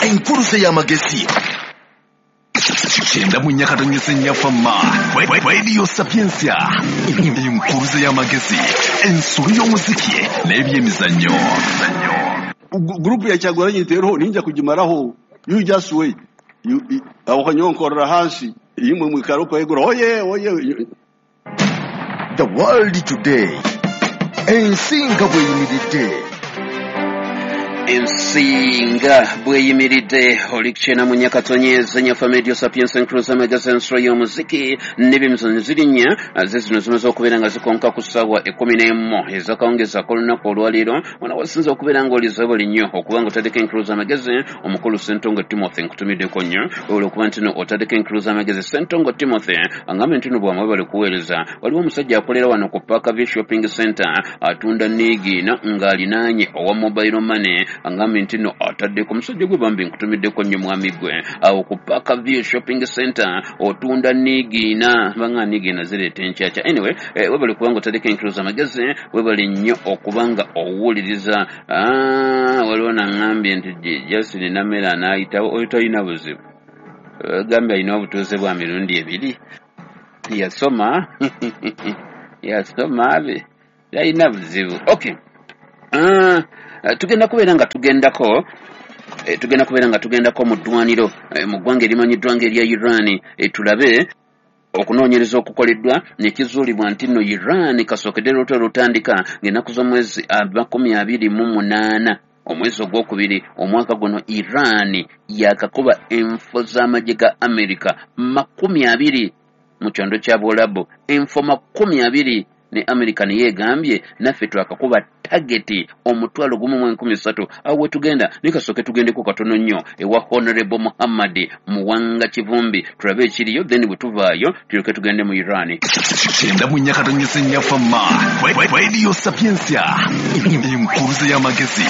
Enkuluze y'amagezi 94.4 Fama Radio Sapientia. Enkuluze y'amagezi, ensolo y'omuziki n'ebyemizannyo. Group ya Kyagulanyi teriho, ninja kugimaraho. You just wait. Aho kanyonkorera hansi imwe mwikaro kwegura oye oye. The World Today, ensinga bweyimiridde. Ensinga bweyimiridde oli kukyena mu nyakatonyeza nyafa Radio Sapientia Enkuluze y'amagezi, ensolo y'omuziki n'ebyemizannyo zirinnya ze zino zimaze okubeera nga zikonka ku ssaawa 11 ezakawungezi ak'olunaku olwaleero. Wano wasinze okubeera ng'olize buli nnyo okuba nga otaddeko Enkuluze y'amagezi. Omukulu Ssentongo Timothy, nkutumiddeko nnyo olwokuba nti no otaddeko Enkuluze y'amagezi. Ssentongo Timothy angambye nti no bwamwe bali kuweereza. Waliwo omusajja akolera wano ku Park View Shopping Center, atunda niigiina ng'alinaanye owa mobile money. Angambye nti no ataddeko omusajja gwe bambi, nkutumiddeko nnyo mwami gwe awo ku Park View Shopping Center, otunda niigiina banga niigiina zireeta enkyakya. Anyway, webale kubanga otaddeko Enkuluze amagezi, webale nnyo okubanga owuliriza. Waliwo naŋŋambye nti Justin Namere anaayitawo, oyo talina buzibu. Gambye alina obutuuze bwa mirundi ebiri, yasoma yasoma abe talina buzibu. Okay, tugenda kubeera nga tugendako tugenda kubeera nga tugendako mu ddwaniro mu ggwanga erimanyiddwa nga erya Iran, tulabe okunoonyereza okukoleddwa nekizuulibwa nti nno Iran kasookedde lutalo lutandika ng'ennaku z'omwezi 28 omwezi ogwokubiri omwaka guno. Iran yakakuba enfo z'amagye ga America 20 mu kyondo kya Buwalabu, enfo 20, ne America neyeegambye naffe twakakuba target 1,013. Awo wetugenda, naye kasooke tugendeko katono nnyo ewa Honorable Muhammad Muwanga Kivumbi, tulabe ekiriyo, then bwe tuvaayo tulyoke tugende mu Iran. 94.4 Fama Radio Sapientia. Enkuluze y'amagezi,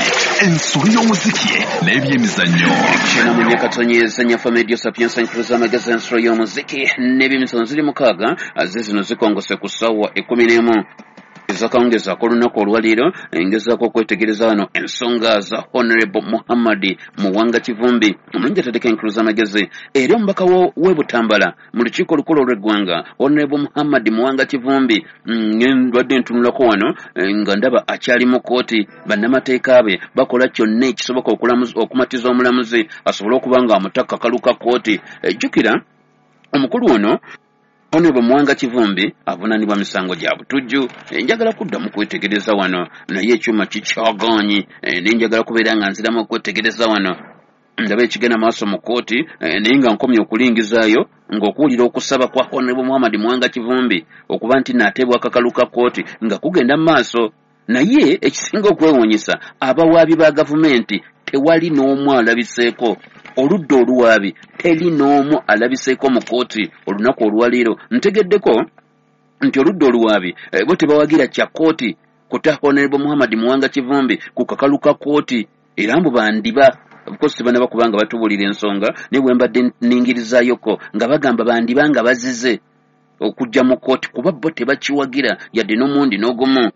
ensolo y'omuziki n'ebyemizannyo. 94.4 Fama Radio Sapientia, Enkuluze y'amagezi, ensolo y'omuziki n'ebyemizannyo. Ziri 6 ze zino zikongose ku ssaawa 11 ezakawungezi ak'olunaku olwaleero. Ngezaako okwetegereza wano ensonga za Honorable Muhammad Muwanga Kivumbi, omulungi ataddeko Enkuluze amagezi, era omubaka w'e Butambala mu lukiiko olukulu olw'eggwanga. Honorable Muhammad Muwanga Kivumbi, ndwadde ntunulako wano nga ndaba akyali mu kkooti. Bannamateeka be bakola kyonna ekisoboka okumatiza omulamuzi asobole okuba nga amutaka kaluka kkooti. Jjukira omukulu ono Honorable Muwanga Kivumbi avunaanibwa misango gya butujju. Njagala kuddamu kwetegereza wano naye ekyuma kikyagaanyi, naye njagala kubeera nga nziramu okwetegereza wano ndaba ekigenda maaso mu kkooti, naye nga nkomye okulingizaayo ng'okuwulira okusaba kwa Honorable Muhammad Muwanga Kivumbi okuba nti naateebwa akakalu ka kkooti nga kugenda mu maaso. Naye ekisinga okwewuunyisa, abawaabi ba gavumenti tewali n'omu alabiseeko. Oludda oluwaabi teri n'omu alabiseeko mu kkooti olunaku olwaleero. Ntegeddeko nti oludda oluwaabi bo tebawagira kya kkooti kuta Honorable Muhammad Muwanga Kivumbi ku kakalu ka kkooti, era mbu bandiba of course tebanaba kubanga batubuulira ensonga, naye bwe mbadde nningirizayoko nga bagamba bandiba nga bazize okujja mu kkooti kuba bo tebakiwagira yadde n'omundi n'ogumu.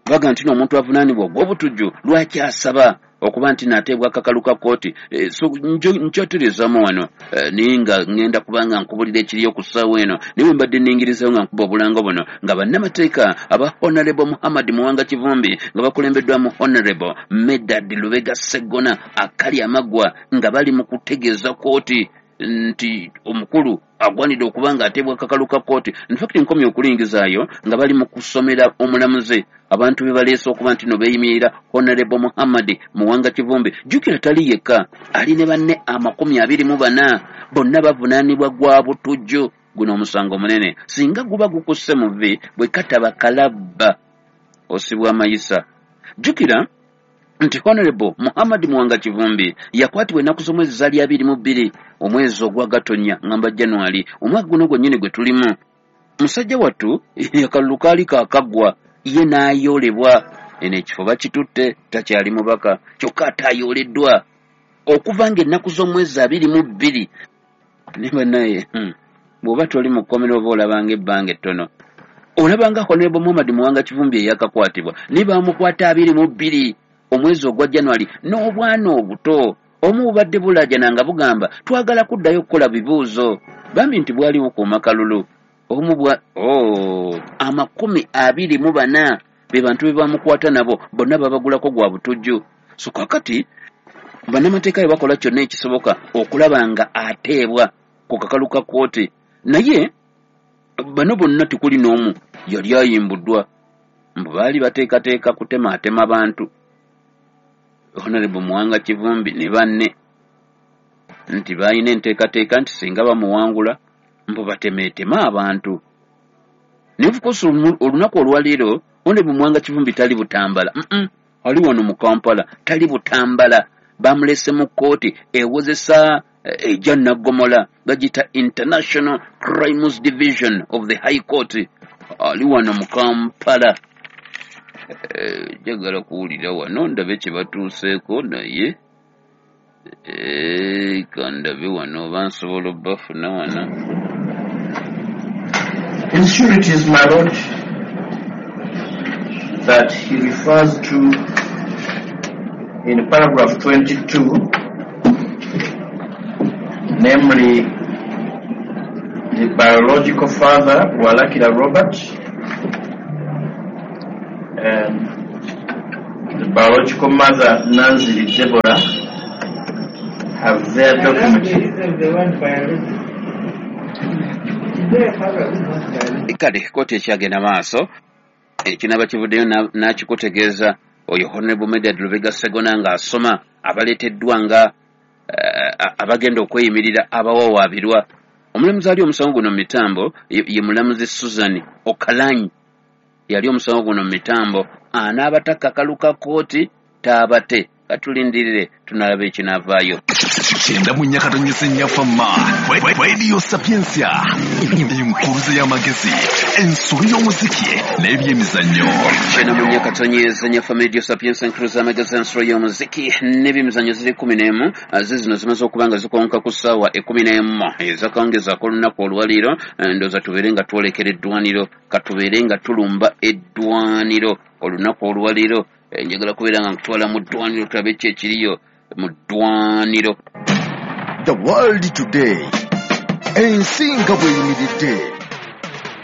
Baga nti n'omuntu avunaanibwa ogw'obutujju lwaki asaba okuba nti naateebwa akakalu ka kkooti? So nkyotereezaamu wano, naye nga ŋŋenda kubanga nkubulira ekiriyo ku ssaawa eno. Naye bwe mbadde nningirizaayo nga nkuba obulango buno nga bannamateeka aba Honorable Muhammad Muwanga Kivumbi nga bakulembeddwamu Honorable Medard Lubega Sseggona akali amaggwa nga bali mu kutegeeza kkooti nti omukulu agwanidde okuba nga ateebwa akakalu ka kkooti. In fact nkomye okulingizaayo nga bali mu kusomera omulamuzi abantu be baleese okuba nti no beeyimirira Honorable Muhammad Muwanga Kivumbi. Jjukira tali yekka, ali ne banne 24, bonna bavunaanibwa gwa butujju. Guno omusango munene, singa guba gukusse mu vvi bwe kataba kalabba osibwa amayisa. Jjukira nti Honorable Muhammad Muwanga Kivumbi yakwatibwa ennaku z'omwezi zaali 22 omwezi ogwa Gatonya, ngamba January, omwaka guno gwennyini gwe tulimu. Musajja wattu akalulu kaali kaakaggwa, ye n'ayoolebwa. Eno ekifo bakitutte, takyali mubaka, kyokka ate ayooleddwa okuva ng'ennaku z'omwezi 22. Naye bannaye, bw'oba toli mu kkomera oba olabanga ebbanga ettono, olabanga Honorable Muhammad Muwanga Kivumbi eyakakwatibwa, naye baamukwata 22 omwezi ogwa January n'obwana obuto. Omu bubadde bulaajana nga bugamba twagala kuddayo okukola bibuuzo, bambi nti bwali bukuuma kalulu. Omu bwa 24 be bantu be bamukwata nabo bonna babagulako gwa butujju. So kakati bannamateeka bwe bakola kyonna ekisoboka okulaba nga ateebwa ku kakalu ka kkooti, naye bano bonna tekuli n'omu yali ayimbuddwa. Mbu baali bateekateeka kutemaatema bantu. Honorable Muwanga Kivumbi ne banne nti balina enteekateeka nti singa bamuwangula mbu batemeeteme abantu. Naye of course olunaku olwaleero Honorable Muwanga Kivumbi tali Butambala, ali wano mu Kampala, tali Butambala. Bamulese mu kkooti ewozesa ejja Naggomola, bagiyita International Crimes Division of the High Court, ali wano mu Kampala. Njagala kuwulira wano ndabe kye batuuseeko, naye kandabe wano oba nsobola obbafuna wano. Insecurities, my lord, that he refers to in paragraph 22, namely the biological father, Walakira Robert, and the biological mother, Nancy Deborah, have their documents. Kale kkooti ekyagenda maaso, ekinaba kivuddeyo n'akikutegeeza oyo Honorable Medard Lubega Ssegona ng'asoma abaleeteddwa nga abagenda okweyimirira abawawaabirwa. Omulamuzi ali omusango guno mu mitambo ye mulamuzi Susan Okalanyi, yali omusango guno mu mitambo. Anaabata kakalu ka kkooti taabate, katulindirire tunalaba ekinaavaayo. 94.4 Fama Radio Sapientia, enkuruza y'amagezi, ensolo y'omuziki n'ebyemizannyo. 94.4 Fama Radio Sapientia, enkuruza y'amagezi, ensolo y'omuziki n'ebyemizannyo ziri 11. Zino zimaze okuba nga zikonka ku ssaawa 11 ezakawungezaako olunaku olwaleero. Ndowooza tubeere nga twolekera eddwaniro, katubeere nga tulumba eddwaniro olunaku olwaleero. Njagala kubeera nga nkutwala mu ddwaniro tulabe ki ekiriyo mu ddwaniro. The World Today, ensi nga bw'eyimiridde.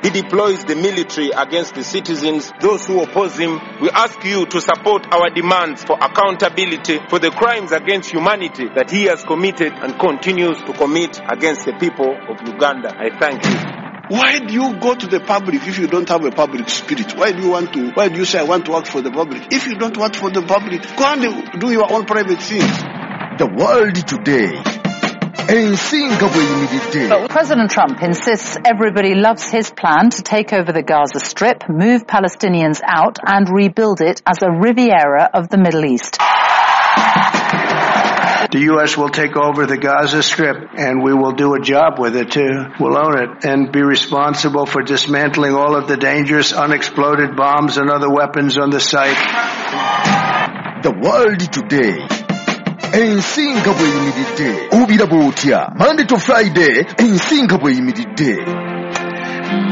He deploys the military against the citizens, those who oppose him. We ask you to support our demands for accountability for the crimes against humanity that he has committed and continues to commit against the people of Uganda. I thank you. Why do you go to the public if you don't have a public spirit? Why do you want to, why do you say I want to work for the public? If you don't work for the public, go and do your own private things. The World Today. Ensi nga bw'eyimiridde. President Trump insists everybody loves his plan to take over the Gaza Strip, move Palestinians out and rebuild it as a Riviera of the Middle East. The U.S. will take over the Gaza Strip, and we will do a job with it, too. We'll own it and be responsible for dismantling all of the dangerous unexploded bombs and other weapons on the site. The World Today. Ensi nga bw'eyimiridde. Obiraba otya? Monday to Friday, ensi nga bw'eyimiridde.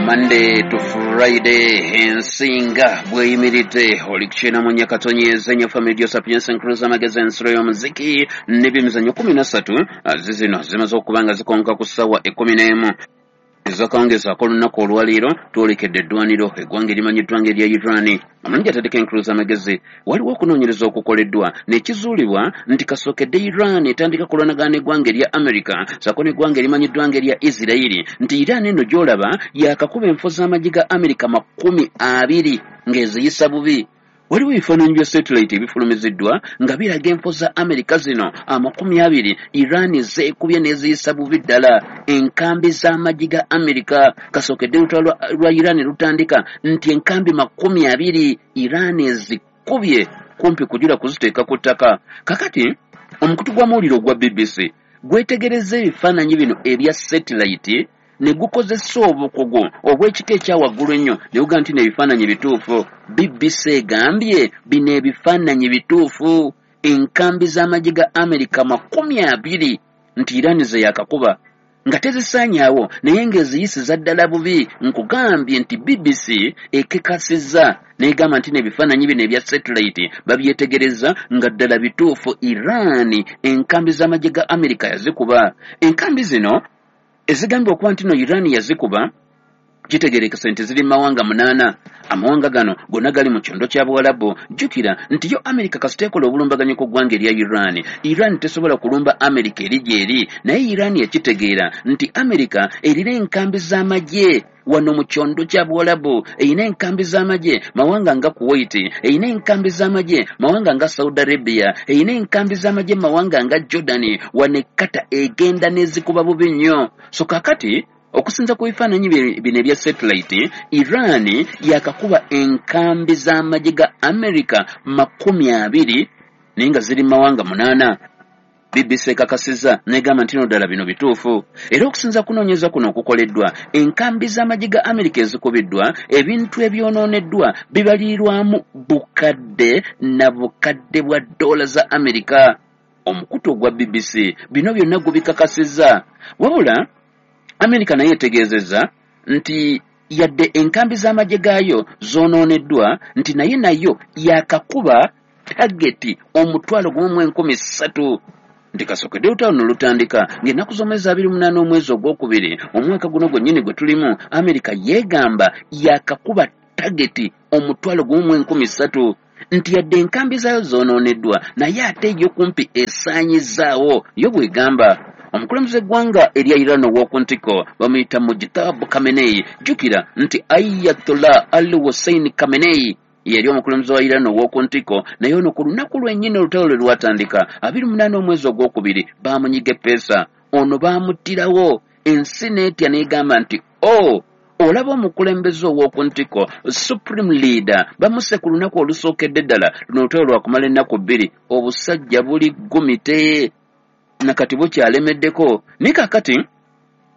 Monday to Friday, ensi nga bw'eyimiridde. Oli ku 94.4 Fama Radio Sapientia, enkuruza amagezi, ensolo y'omuziki n'ebyemizannyo 13. Zizino zimaze okuba nga zikonka ku ssaawa 11 ezakawungezaako olunaku olwaleero. Twolekedde eddwaniro, eggwanga erimanyiddwa ng'erya Iran. Amalungi atadeko enkuluza amagezi, waliwo okunoonyereza okukoleddwa nekizuulibwa nti kasookedde Iran etandika kulwanagana n'eggwanga erya America ssaako n'eggwanga erimanyiddwa ng'erya Isirairi, nti Iran eno gy'olaba yakakuba enfo z'amagye ga America 20 ng'eziyisa bubi. Waliwo ebifaananyi bya satellite ebifulumiziddwa nga biraga enfo za America zino 20 Iran zeekubye n'eziyisa bubi ddala enkambi z'amagye ga America. Kasookedde olutalo lwa Iran lutandika nti enkambi 20 Iran ezikubye kumpi kujula kuziteeka ku ttaka. Kakati omukutu gw'amawulire ogwa BBC gwetegereza ebifaananyi bino ebya satellite ne gukozesa obukugu obw'ekika ekya waggulu ennyo ne gugaa nti n'ebifaananyi bituufu. BBC egambye bino ebifaananyi bituufu, enkambi z'amagye ga America 20 nti Iran ze yakakuba. Nga tezisaanyaawo, naye ng'eziyisiza ddala bubi. Nkugambye nti BBC ekekasizza n'egamba nti n'ebifaananyi bino ebya satellite babyetegereza nga ddala bituufu. Iran enkambi z'amagye ga Amerika yazikuba. Enkambi zino ezigambibwa okuba nti no Iran yazikuba, kitegerekese nti ziri mawanga 8. Amawanga gano gonna gali mu kyondo kya Buwalabu. Jjukira nti yo Amerika kasita ekola obulumbaganyi ku ggwanga erya Iran, Iran tesobola kulumba Amerika eri gy'eri, naye Iran yakitegeera nti Amerika erina enkambi z'amagye wano mu kyondo kya Buwalabu, erina enkambi z'amagye mawanga nga Kuwait, erina enkambi z'amagye mawanga nga Saudi Arabia, erina enkambi z'amagye mawanga nga Jordan. Wano ekkata egenda n'ezikuba bubi nnyo. So kaakati okusinza ku bifaananyi bino ebya satellite, Iran yakakuba enkambi z'amagye ga Amerika 20, naye nga ziri mawanga 8. BBC ekakasizza n'egamba nti no ddala bino bituufu. Era okusinza kunoonyeza kuno okukoleddwa, enkambi z'amagye ga Amerika ezikubiddwa, ebintu ebyonooneddwa bibalirirwamu bukadde na bukadde bwa ddoola za Amerika. Omukutu ogwa BBC bino byonna gubikakasizza. Wabula Amerika naye etegeezezza nti yadde enkambi z'amagye gaayo zoonooneddwa, nti naye nayo yakakuba tageti 1,300. Nti kasookedde olutalo no lutandika ng'ennaku z'omwezi 28 omwezi ogwokubiri omwaka guno gwennyini gwe tulimu, Amerika yeegamba yakakuba tageti 1,300, nti yadde enkambi zaayo zoonooneddwa, naye ate yo kumpi esaanyizaawo. Yo bw'egamba. Omukulembeze w'eggwanga erya Iran ow'oku ntikko bamuyita Mujtaba Khamenei. Jjukira nti Ayatollah Ali Hussein Khamenei yali omukulembeze wa Iran ow'oku ntikko, naye ono ku lunaku lwennyini olutalo lwe lwatandika 28 omwezi ogwokubiri baamunyiga eppeesa. Ono baamuttirawo, ensi n'etya n'egamba nti o olaba omukulembeze ow'oku ntikko supreme leader bamusse ku lunaku olusookedde ddala. Luno olutalo lwakumala ennaku 2, obusajja buli gumite nakati bukyalemeddeko. Naye kaakati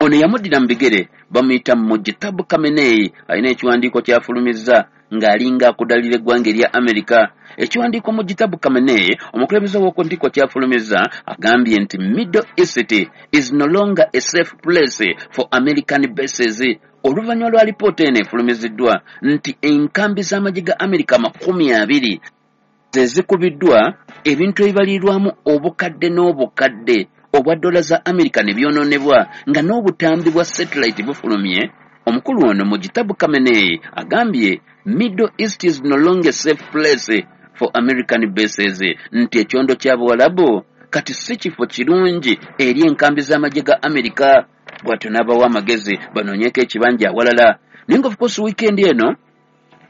ono yamuddira mu bigere bamuyita Mujtaba Khamenei, alina ekiwandiiko ky'afulumizza ng'alinga akudalira eggwanga erya Amerika. Ekiwandiiko Mujtaba Khamenei omukulembeze ow'oku ntikko ky'afulumizza agambye nti Middle East is no longer a safe place for American bases. Oluvannyuma lwa lipoota eno efulumiziddwa nti enkambi z'amagye ga Amerika 20 ze zikubiddwa, ebintu ebibalirirwamu obukadde n'obukadde obwa ddoola za Amerika ne byonoonebwa, nga n'obutambi bwa satellite bufulumye. Omukulu ono Mujtaba Khamenei agambye Middle East is no longer a safe place for American bases, nti ekyondo kya Buwalabu kati si kifo kirungi eri enkambi z'amagye ga Amerika. Bw'atyo n'abawa amagezi banoonyeeko ekibanja awalala. Naye nga of course weekend eno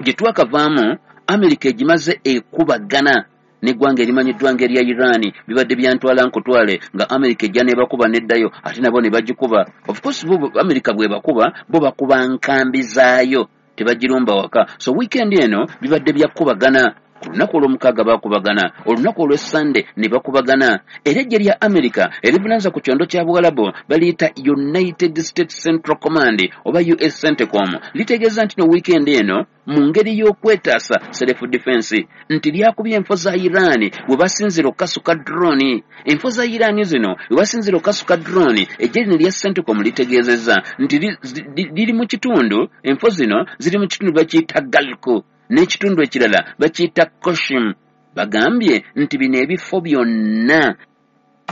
gye twakavaamu, Amerika egimaze ekubagana n'eggwanga erimanyiddwa ng'erya Iran. Bibadde byantwala nkutwale, nga Amerika ejja n'ebakuba n'eddayo, ate nabo ne bagikuba. Of course bo Amerika bw'ebakuba, bo bakuba nkambi zaayo, tebagirumba waka. So weekend eno bibadde byakubagana. Ku lunaku olw'omukaaga baakubagana, olunaku olw'essande ne bakubagana. Era eggye lya Amerika erivunaanyizibwa ku kyondo kya Buwalabu baliyita United States Central Command oba US CENTCOM, litegeeza nti no weekend eno mu ngeri y'okwetaasa, self defense, nti lyakubye enfo za Iran we basinzira okukasuka drone. Enfo za Iran zino we basinzira okukasuka drone, eggye lino lya CENTCOM litegeezezza nti liri mu kitundu, enfo zino ziri mu kitundu bakiyita Galko n'ekitundu ekirala bakiyita Koshim. Bagambye nti bino ebifo byonna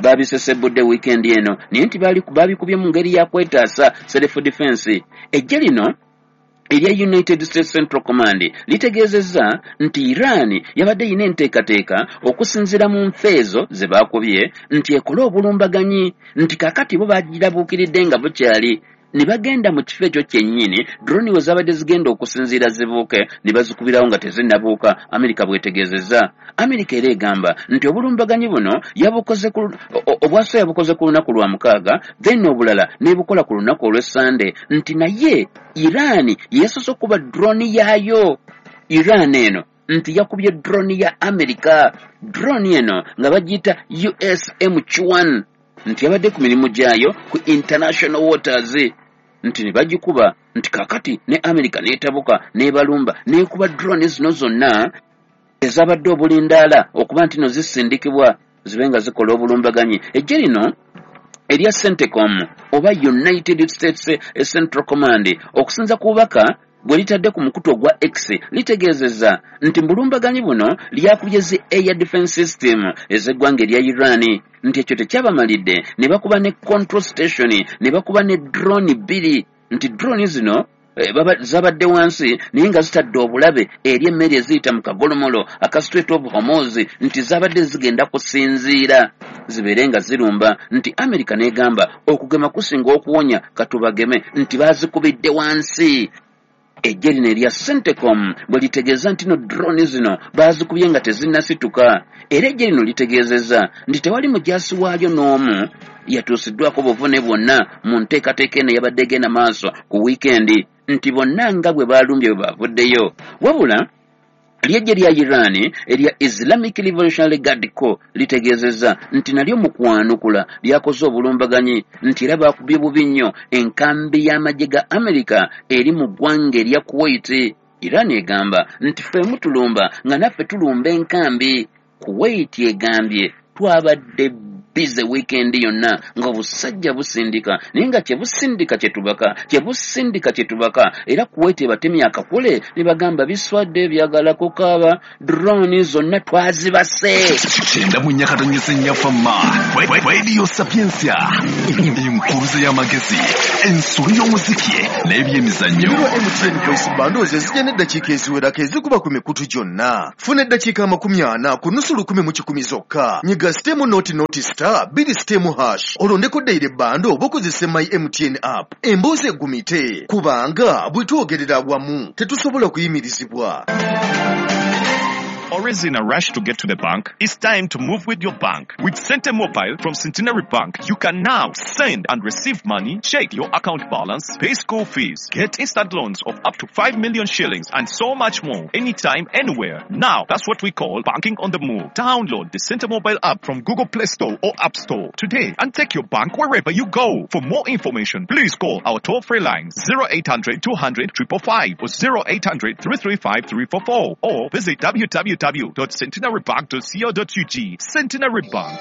babisesebudde weekend eno, naye nti babikubye mu ngeri ya kwetaasa, self defense. Eggye lino erya United States Central Command litegeezezza nti Iran yabadde erina enteekateeka okusinziira mu nfa ezo ze baakubye nti ekole obulumbaganyi, nti kaakati bo bagirabuukiridde nga bukyali, ne bagenda mu kifo ekyo kyennyini drone we zabadde zigenda okusinziira zibuuke, ne bazikubirawo nga tezinnabuuka. Amerika bw'etegeezezza. Amerika era egamba nti obulumbaganyi buno yabukoze ku obwaso yabukoze ku lunaku lwa mukaaga, then obulala n'ebukola ku lunaku olw'essande, nti naye Iran yeesoose okuba drone yaayo. Iran eno nti yakubye drone ya Amerika, drone eno nga bagiyita USMQ-1, nti yabadde ku mirimu gyayo ku international waters, nti ne bagikuba, nti kaakati ne Amerika n'etabuka n'ebalumba n'ekuba drone zino zonna ezabadde obulindaala okuba nti no zisindikibwa zibe nga zikola obulumbaganyi. Eggye lino Erya CENTCOM oba United States Central Command, okusinza ku bubaka bwe litadde ku mukutu ogwa X, litegeezezza nti mu bulumbaganyi buno lyakubye zi air defense system ez'eggwanga erya Iran, nti ekyo tekyabamalidde ne bakuba ne control station, ne bakuba ne drone 2, nti drone zino zabadde wansi naye nga zitadde obulabe eri emmere eziyita mu kagolomolo aka Strait of Hormuz, nti zabadde zigenda kusinziira zibeere nga zirumba, nti Amerika n'egamba okugema kusinga okuwonya, katubageme, nti baazikubidde wansi. Eggye lino erya CENTCOM bwe litegeeza nti no drone zino baazikubye nga tezinnasituka. Era eggye lino litegeezezza nti tewali mujaasi waalyo n'omu yatuusiddwako buvune bwonna mu nteekateeka eno eyabadde egenda maaso ku wiikendi, nti bonna nga bwe baalumbye bwe baavuddeyo. Wabula ly'eggye lya Iran erya Islamic Revolutionary Guard Corps litegeezezza nti nalyo mu kwanukula lyakoze obulumbaganyi, nti era baakubye bubi nnyo enkambi y'amagye ga Amerika eri mu ggwanga erya Kuwait. Iran egamba nti ffe mutulumba nga naffe tulumba enkambi. Kuwait egambye twabadde bize wiikendi yonna ng'obusajja busindika, naye nga kye busindika kye tubaka, kye busindika kye tubaka. Era Kuwait ebatemye akakule ne bagamba biswadde byagala kukaaba, drone zonna twazibase. 94.4 Fama Radio Sapientia, enkuruze y'amagezi, ensolo y'omuziki n'ebyemizannyo. MTN Voice Bundles ezijja n'eddakiika eziwerako ezikuba ku mikutu gyonna. Funa eddakiika 40 ku nusu 1,100 mu kikumi zokka. Nyiga sitemu noti noti star 2 sitemu hash olondeko daily bundle oba okozese My MTN app. Emboozi egumite kubanga bwe twogerera wamu tetusobola kuyimirizibwa. Always in a rush to get to the bank? It's time to move with your bank. With Sente Mobile from Centenary Bank, you can now send and receive money, check your account balance, pay school fees, get instant loans of up to 5 million shillings, and so much more, anytime, anywhere. Now, that's what we call banking on the move. Download the Sente Mobile app from Google Play Store or App Store today and take your bank wherever you go. For more information, please call our toll-free lines 0800 200 555 or 0800 335 344 or visit www.centenarybank.co.ug. Centenary Bank.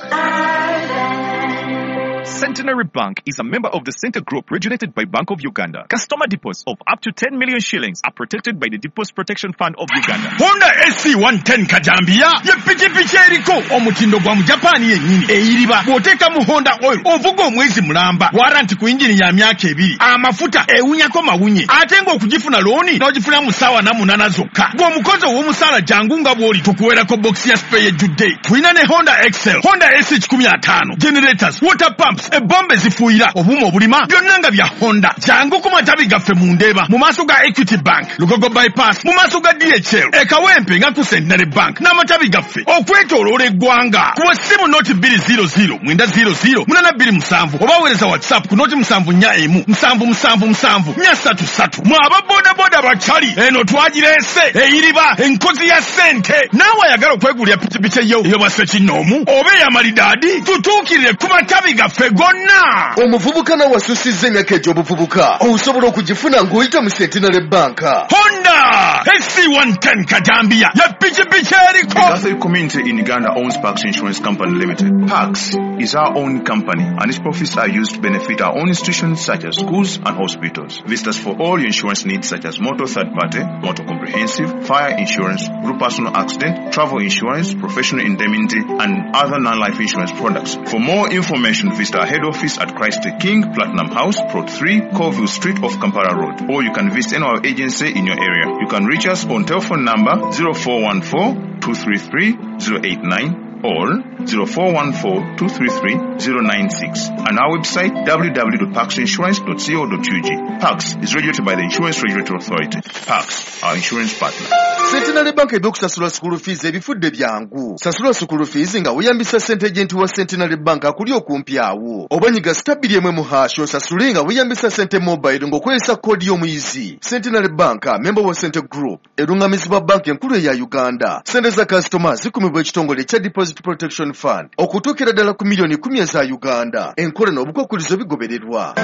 Centenary Bank is a member of the Center Group regulated by Bank of Uganda. Customer deposits of up to 10 million shillings are protected by the Deposit Protection Fund of Uganda. Honda SC110 Kajambia ye pikipiki eriko omutindo gwa mu Japan yennyini eyiriba. Bw'oteeka mu Honda oil ovuga omwezi mulamba, waranti ku yingini ya myaka 2, amafuta ewunyako mawunye, ate ng'okugifuna looni n'ogifuna mu ssaawa 8 zokka. Bw'omukozi ow'omusaala jangu nga bw'oli tukuweerako bokisi ya spare ejjudde. Tulina ne Honda Excel, Honda SC105, generators, water pumps, ebombe zifuuyira, obuuma obulima, byonna nga bya Honda. Jangu ku matabi gaffe mu Ndeeba, mu maaso ga Equity Bank, Lugogo Bypass, mu maaso ga DHL, e Kawempe nga ku Centenary Bank n'amatabi gaffe okwetooloola eggwanga. Kuba essimu noti 200 900 827 oba weereza WhatsApp ku noti 741 777 433. Mwe aba bodaboda bakyali, eno twagireese eyiriba enkozi ya ssente. Naawe ayagala okwegulira pikipiki eyo ey'obwassekinnoomu oba ey'amalidaadi, tutuukirire ku matabi gaffe gonna. Omuvubuka nawe asussizza emyaka egy'obuvubuka osobola okugifuna ng'oyita mu Centenary Bank. Honda SC110 Kajambia ye pikipiki eriko. The Catholic community in Uganda owns Pax Insurance Company Limited. Pax is our own company and its profits are used to benefit our own institutions such as schools and hospitals. Visit us for all your insurance needs such as motor third party, motor comprehensive, fire insurance, group personal accident, travel insurance, professional indemnity, and other non-life insurance products. For more information, visit our head office at Christ the King, Platinum House, Plot 3, Colville Street off Kampala Road, or you can visit any of our agency in your area. You can reach us on telephone number 0414 233 089 or 0414 233 096 and our website www.paxinsurance.co.ug. Pax is regulated by the Insurance Regulatory Authority. Pax, our insurance partner. Centenary Bank ebyokusasula school fees ebifudde byangu. Sasula school fees nga weeyambisa ssente agent wa Centenary Bank akuli okumpi awo. Oba nyiga star 2 mu hash osasule nga weeyambisa ssente mobile ng'okozesa koodi y'omuyizi. Centenary Bank, member wa Center Group, erungamizibwa banki enkulu eya Uganda. Ssente za kasitoma zikumibwa ekitongole ekya Deposit Protection Fund okutuukira ddala ku miliyoni 10 eza Uganda. Enkola n'obukwakkulizo bigobererwa.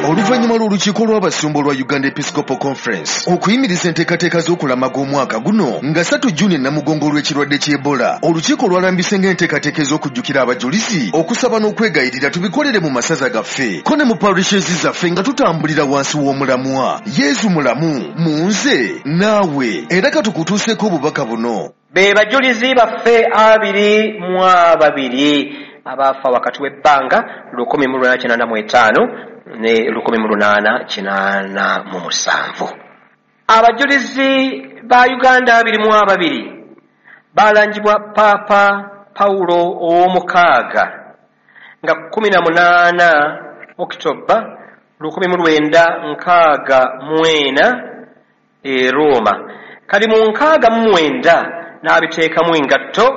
Oluvannyuma lw'olukiiko lw'abasumba olwa Uganda Episcopal Conference okuyimiriza enteekateeka z'okulamaga omwaka guno nga 3 Juni Namugongo olw'ekirwadde ky'Ebola, olukiiko lwalambise ng'enteekateeka ez'okujjukira abajulizi, okusaba n'okwegayirira tubikolere mu masaza gaffe ko ne mu parishes zaffe nga tutambulira wansi w'omulamwa Yezu mulamu mu nze naawe. Era katukutuuseeko obubaka buno. Be bajulizi baffe 22 abaafa wakati w'ebbanga 1885 ne 1887. Abajulizi ba Uganda 22 balangibwa Paapa Paulo ow'omukaaga nga 18 Okitoba 1964 e Roma. Kali mu 69 n'abiteekamu engatto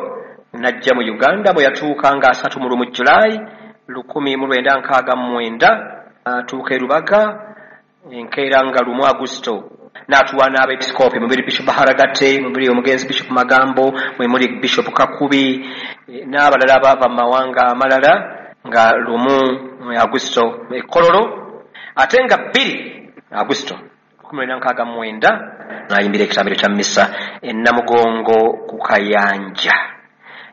n'ajja mu Uganda bwe yatuuka nga 31 Julaayi 1969 atuuka e Rubaga enkeera nga 1 Agusto n'atuwa n'abeepisikoopi mubiri Bishop Haragate, mubiri omugenzi Bishop Magambo, mwe muli Bishop Kakubi n'abalala abaava mu mawanga amalala nga 1 Agusto e Kololo, ate nga 2 Agusto 1969 n'ayimbira ekitambiro kya mmisa e Namugongo ku Kayanja.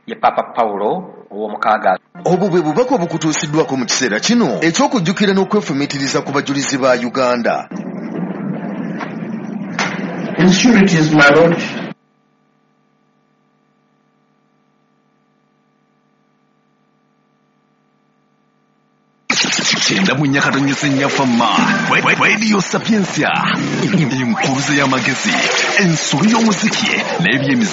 Ye Papa Paulo ow'omukaaga. Obwo bwe bubaka obukutuusiddwako mu kiseera kino eky'okujjukira n'okwefumiitiriza ku bajulizi ba Uganda. Insecurities, my lord. Kyenda mu nyakatonyese nyafama Radio Sapientia, enkuruze y'amagezi, ensolo y'omuziki n'ebyemizannyo.